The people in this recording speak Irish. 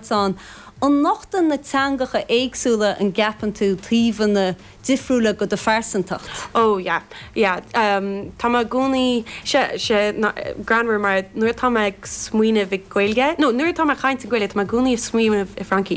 labhairt ann. An nochtann na teangacha éagsúla an gceapann tú taobhanna difriúla de do phearsantacht? Oh yeah, yeah. Tá mé i gcónaí, sé, sé, greannmhar mar nuair atá mé ag smaoineamh i Gaeilge, nó nuair atá mé ag caint i Gaeilge tá mé i gcónaí ag smaoineamh i Fraincis.